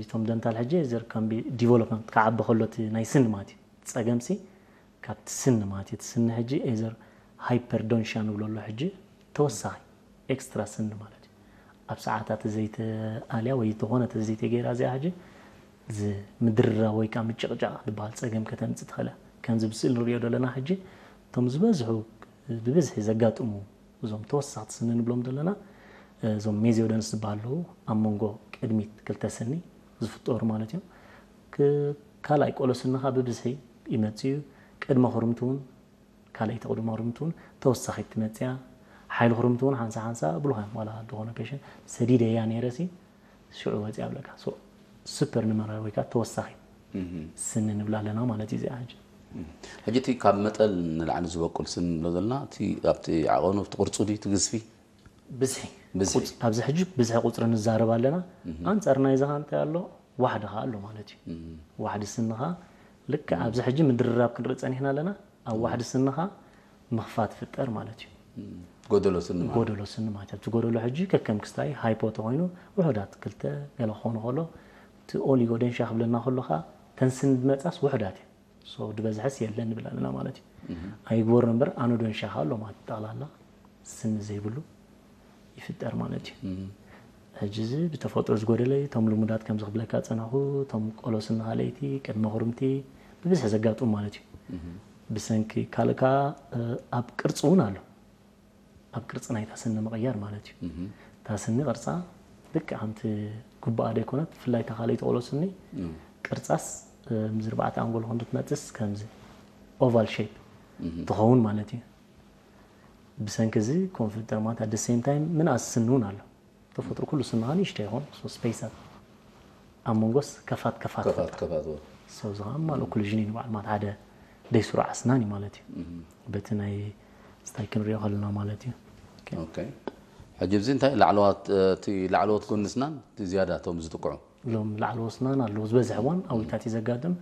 እቶም ደንታል ሕጂ ዘር ከም ዲቨሎፕመንት ክዓቢ ከሎ እቲ ናይ ስኒ ማለት እዩ። ጸገምሲ ካብቲ ስኒ ማለት እዩ። እቲ ስኒ ሕጂ ኤዘር ሃይፐርዶንሽያ ንብሎ ኣሎ ሕጂ ተወሳኺ ኤክስትራ ስኒ ማለት እዩ። ኣብ ሰዓታት ዘይተኣልያ ወይ ዝኾነ ዘይተገይራ እዚኣ ሕጂ እዚ ምድርራ ወይ ከዓ ምጭቕጫቕ ዝበሃል ጸገም ከተምጽእ ትኽእል እያ። ከምዚ ብስእሊ ንሪኦ ዘለና ሕጂ እቶም ዝበዝሑ ብብዝሒ ዘጋጥሙ እዞም ተወሳኽቲ ስኒ ንብሎም ዘለና እዞም ሜዚዮደንስ ዝበሃሉ ኣብ መንጎ ቅድሚት ክልተ ስኒ ዝፍጠሩ ማለት እዮም። ካልኣይ ቆሎ ስንኻ ብብዝሒ ይመጽእ እዩ። ቅድመ ክርምቲ እውን ካልኣይቲ ቅድመ ክርምቲ እውን ተወሳኺት ትመጽእ እያ። ሓይሊ ክርምቲ እውን ሓንሳ ሓንሳ ብሉኻ እዮም ዋላ ዝኾነ ፔሽን ሰዲደ እያ ነይረ ሲ ሽዑ ወፂ ኣብለካ ሱፐር ንመራ ወይ ከዓ ተወሳኺ ስኒ ንብላ ኣለና ማለት እዩ እዚኣ ሕጂ። ሕጂ እቲ ካብ መጠን ንላዕሊ ዝበቁል ስኒ ንብሎ ዘለና እቲ ኣብቲ ዓቐኑ ኣብቲ ቅርፁ ድዩ እቲ ግዝፊ? ብዝሒ ኣብዚ ሕጂ ብዝሒ ቁፅሪ ንዛረብ ኣለና። ኣንፃር ናይዚ ኸ እንታይ ኣሎ? ዋሕዲ ኸ ኣሎ ማለት እዩ። ዋሕዲ ስንኻ ልክዕ ኣብዚ ሕጂ ምድርራብ ክንርኢ ፀኒሕና ኣለና። ኣብ ዋሕዲ ስንኻ ምኽፋት ፍጠር ማለት እዩ። ጎደሎ ስኒ ማለት ጎደሎ ስኒ ማለት እዩ። እቲ ጎደሎ ሕጂ ከከም ክስታይ ሃይፖ ተኮይኑ ውሑዳት ክልተ ገለ ክኾኑ ከሎ እቲ ኦሊጎ ደንሻ ክብለና ከሎ ኸዓ ተን ስኒ ዝመፃስ ውሑዳት እየ ሶ ድበዝሐስ የለን ንብል ኣለና ማለት እዩ። ኣይግበሩ እምበር ኣኖ ደንሻ ኸዓ ኣሎ ማለት ጠቕላላ ስኒ ዘይብሉ ይፍጠር ማለት እዩ። ሕጂ እዚ ብተፈጥሮ ዝጎደለ እዩ። እቶም ልሙዳት ከም ዝኽብለካ ዝፀናኹ እቶም ቆሎ ስኒ ካልኣይቲ ቅድመ ክርምቲ ብብዝሒ ዘጋጥሙ ማለት እዩ። ብሰንኪ ካልእ ከዓ ኣብ ቅርፂ እውን ኣሎ። ኣብ ቅርፂ ናይታ ስኒ ምቕያር ማለት እዩ። እታ ስኒ ቅርፃ ልክዕ ከምቲ ግቡኣ ዘይኮነት ብፍላይ እታ ካልኣይቲ ቆሎ ስኒ ቅርፃስ ምዝርባዕቲ ኣንጎል ክንዲ ትመፅስ ከምዚ ኦቫል ሼፕ ትኸውን ማለት እዩ። ብሰንኪ እዚ ኮንፍሊክት ማለት ኣደ ሴም ታይም ምንኣስ ስኒ እውን ኣሎ። ተፈጥሮ ኩሉ ስንኻ ንእሽቶ ይኾን ስፔሳት ኣብ መንጎስ ከፋት ከፋት ከፋት ከፋት ሰው ዝኸማል ኦክሉዥን እዩ ንባዕል ማለት ሓደ ደይ ስሩዕ ኣስናን እዩ ማለት እዩ። በቲ ናይ ስታይ ክንሪኦ ከለና ማለት እዩ። ኦኬ። ሕጂ እዚ እንታይ ላዕለዋት እቲ ላዕለዎት ጎኒ ስናን እቲ ዝያዳ እቶም ዝጥቅዑ ሎም ላዕለዎት ስናን ኣለዉ ዝበዝሕ እዋን ኣዊታት እዩ ዘጋጥም።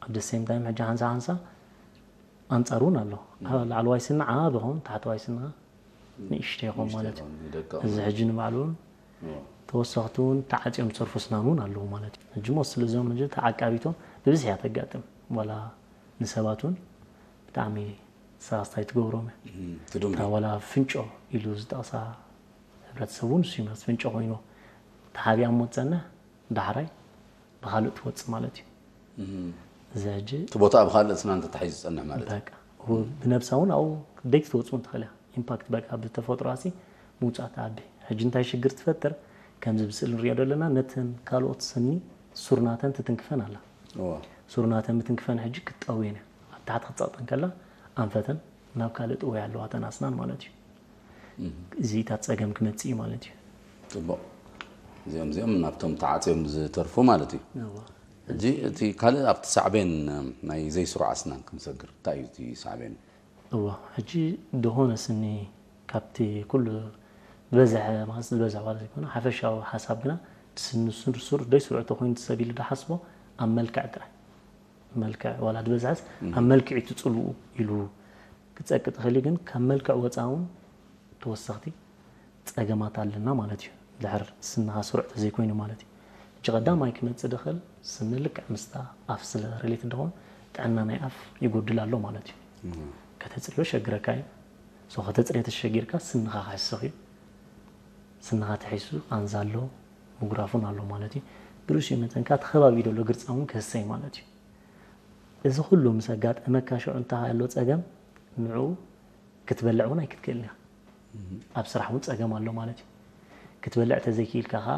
ኣብ the same time ሕጂ ሓንሳ ሓንሳ ኣንፃር እውን ኣሎ። ላዕለዋይ ስኒ ዓቢ ይኸውን፣ ታሕተዋይ ስኒ ንእሽቶ ይኸውን ማለት እዩ። እዚ ሕጂ ንባዕሉ እውን ተወሰኽቲ እውን ተዓፅዮም ዝሰርፉ ስናን እውን ኣለዉ ማለት እዩ። ሕጂ ሞ ስለ እዚኦም ሕጂ ተዓቃቢቶም ብብዝሒ እያ ተጋጥም። ዋላ ንሰባት እውን ብጣዕሚ ሳስታይ ትገብሮም እያ። ዋላ ፍንጮ ኢሉ ዝጠቕሳ ሕብረተሰብ እውን ንሱ ይመስል ፍንጮ ኮይኑ ተሓቢኣ እሞ ትፀንሕ ዳሕራይ ብኻልእ ትወፅእ ማለት እዩ። እዚ ሕጂ እቲ ቦታ ኣብ ካልእ ስናን ተታሒዙ ዝፀንሕ ማለት እዩ። በቃ ብነብሳ እውን ኣብኡ ደይቲ ትወፅእ እውን ትኽእል እያ። ኢምፓክት በቃ ብተፈጥሮኣሲ ምውፃእ ትዓቢ። ሕጂ እንታይ ሽግር ትፈጥር? ከምዚ ብስእሊ ንሪኦ ዘለና ነተን ካልኦት ስኒ ሱር ናተን ትትንክፈን ኣላ። ሱር ናተን ምትንክፈን ሕጂ ክትጠውየን እያ። ኣብ ታሕቲ ክትፀቕጠን ከላ ኣንፈተን ናብ ካልእ ጥወያ ኣለዋ ተን ኣስናን ማለት እዩ። እዚታት ፀገም ክመፅእ እዩ ማለት እዩ። ፅቡቕ። እዚኦም እዚኦም ናብቶም ተዓፅዮም ዝተርፉ ማለት እዩ። ሕጂ እቲ ካልእ ኣብቲ ሳዕቤን ናይ ዘይስሩዕ ኣስናን ክንሰግር እንታይ እዩ እቲ ሳዕቤን? እዋ ሕጂ ዝኾነ ስኒ ካብቲ ኩሉ ዝበዝሐ ማለት ዝበዝሐ ማለት ዘይኮነ ሓፈሻዊ ሓሳብ ግና ስኒ ሱር ሱር ደይ ስሩዕ ተኮይኑ ሰብ ኢሉ ዝሓስቦ ኣብ መልክዕ ጥራይ መልክዕ ዋላ ዝበዝሐስ ኣብ መልክዕ እቲ ፅልኡ ኢሉ ክፀቅጥ ይኽእል እዩ። ግን ካብ መልክዕ ወፃ እውን ተወሰኽቲ ፀገማት ኣለና ማለት እዩ። ድሕር ስንኻ ስሩዕ ተዘይኮይኑ ማለት እዩ። ሕጂ ቀዳማይ ክመፅእ ድኽእል ስኒ ልክዕ ምስታ ኣፍ ስለ ሪሌት እንደኾን ጥዕና ናይ ኣፍ ይጎድል ኣሎ ማለት እዩ። ከተፅርዮ ሸግረካ እዩ። ሶ ከተፅርዮ ተሸጊርካ ስንኻ ክሕስኽ እዩ። ስንኻ ተሒሱ ቃንዛ ኣሎ ምጉራፉን ኣሎ ማለት እዩ። ብርሽኡ መጠንካ እቲ ከባቢ ደሎ ግርፃ እውን ክህሰይ ማለት እዩ። እዚ ኩሉ ምስ ኣጋጠመካ ሽዑ እንታይ ኣሎ ፀገም ንዑ ክትበልዕ እውን ኣይክትክእልን ኢኻ። ኣብ ስራሕ እውን ፀገም ኣሎ ማለት እዩ። ክትበልዕ ተዘይክኢልካ ከዓ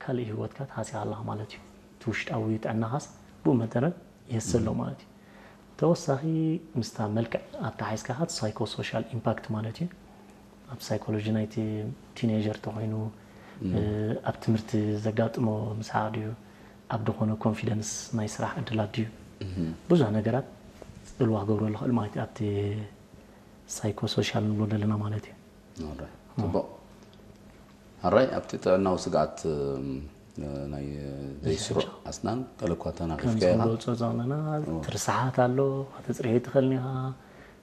ካልእ ህይወትካ ተሃሲኻ ኣለኻ ማለት እዩ። እቲ ውሽጣዊ ጥዕናኻስ ብኡ መጠን ይህሰ ኣሎ ማለት እዩ። ተወሳኺ ምስታ መልክዕ ኣተሓሒዝካ ከዓ ሳይኮሶሻል ኢምፓክት ማለት እዩ። ኣብ ሳይኮሎጂ ናይቲ ቲኔጀር ተኮይኑ ኣብ ትምህርቲ ዘጋጥሞ ምስሓቕ ድዩ ኣብ ድኾነ ኮንፊደንስ ናይ ስራሕ ዕድላት ድዩ ብዙሕ ነገራት ፅልዋ ክገብረሉ ይኽእል ማለት እዩ ኣብቲ ሳይኮሶሻል ንብሎ ዘለና ማለት እዩ። ፅቡቕ። ሕራይ ኣብቲ ጥዕናዊ ስግኣት ናይ ዘይስሩዕ ኣስናን ገለ እኳ ተናኺፍካዮ ኢኻ። ከምዝብሎ ዘለና ትርስሓት ኣሎ ከተፅርዮ ኣይትኽእልን ኢኻ።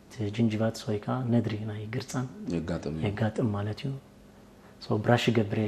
እቲ ጅንጅቫትስ ወይ ከዓ ነድሪ ናይ ግርፃን የጋጥም ማለት እዩ። ብራሽ ይገብር እየ